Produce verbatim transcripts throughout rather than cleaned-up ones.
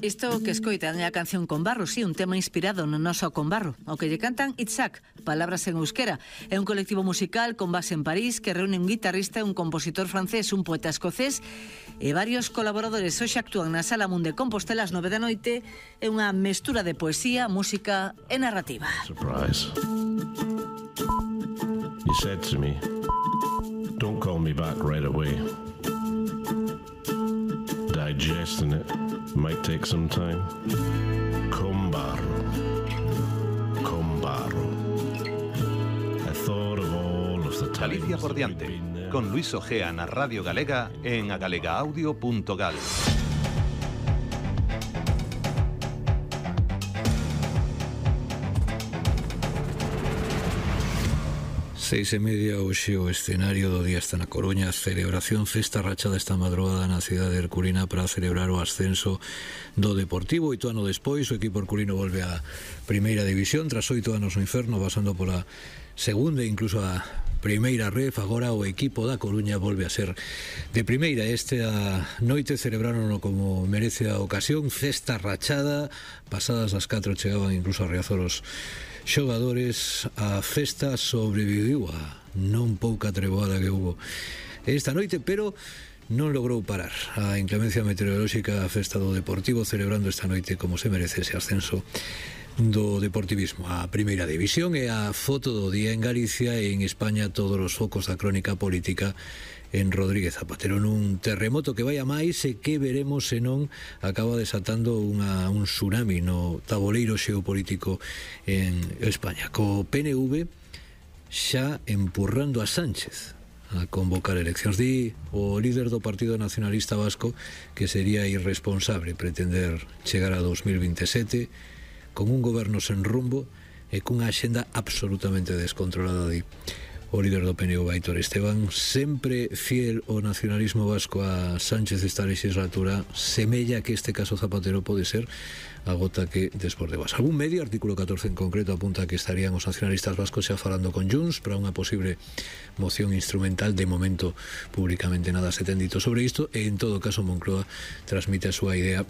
Isto que escoitan é a canción Conbarro, sí, un tema inspirado no noso Conbarro, ao que lle cantan Itzhak, palabras en euskera. É un colectivo musical con base en París que reúne un guitarrista, un compositor francés, un poeta escocés e varios colaboradores. Hoxe actúan na Sala Mun de Compostela ás nove da noite. É unha mestura de poesía, música e narrativa. Surprise. You said to me, don't call me back right away. Digesting it might take some time. Conbarro, Conbarro. I thought of all of the times. Galicia por diante, con Luis Ojea na Radio Galega en agalegaudio punto gal. Seis e media, hoxe o escenario do día está na Coruña. Celebración Festa Rachada esta madrugada na cidade herculina para celebrar o ascenso do Deportivo. Oito ano despois, o equipo herculino volve á primeira división tras oito anos no inferno, pasando pola segunda e incluso a primeira ref. Agora o equipo da Coruña volve a ser de primeira. Esta noite celebraronlo como merece a ocasión, Festa Rachada. Pasadas as catro chegaban incluso a Riazor os xogadores. A festa sobreviviu a non pouca treboada que hubo esta noite, pero non logrou parar a inclemencia meteorolóxica. A festa do Deportivo celebrando esta noite como se merece ese ascenso do Deportivismo a primeira división. E a foto do día en Galicia e en España todos os focos da crónica política en Rodríguez Zapatero, nun terremoto que vai a máis e que veremos se non acaba desatando unha, un tsunami no taboleiro xeopolítico en España, co P N V xa empurrando a Sánchez a convocar eleccións. Di o líder do Partido Nacionalista Vasco que sería irresponsable pretender chegar a dos mil veintesete con un goberno sen rumbo e cunha axenda absolutamente descontrolada. Di o líder do P N V, Aitor Esteban, sempre fiel ao nacionalismo vasco a Sánchez esta legislatura, semella que este caso Zapatero pode ser a gota que desbordebas. Algún medio, artículo catorce en concreto, apunta que estarían os nacionalistas vascos xa falando con Junts para unha posible moción instrumental. De momento, públicamente nada se ten dito sobre isto e, en todo caso, Moncloa transmite a súa idea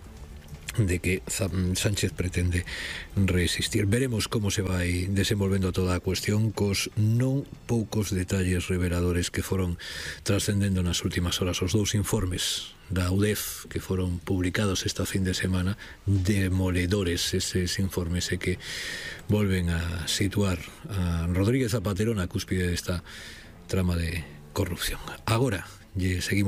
de que Sánchez pretende resistir. Veremos como se vai desenvolvendo toda a cuestión cos non poucos detalles reveladores que foron trascendendo nas últimas horas. Os dous informes da U D E F que foron publicados esta fin de semana, demoledores eses informes, e que volven a situar a Rodríguez Zapatero na cúspide desta trama de corrupción. Agora lle seguimos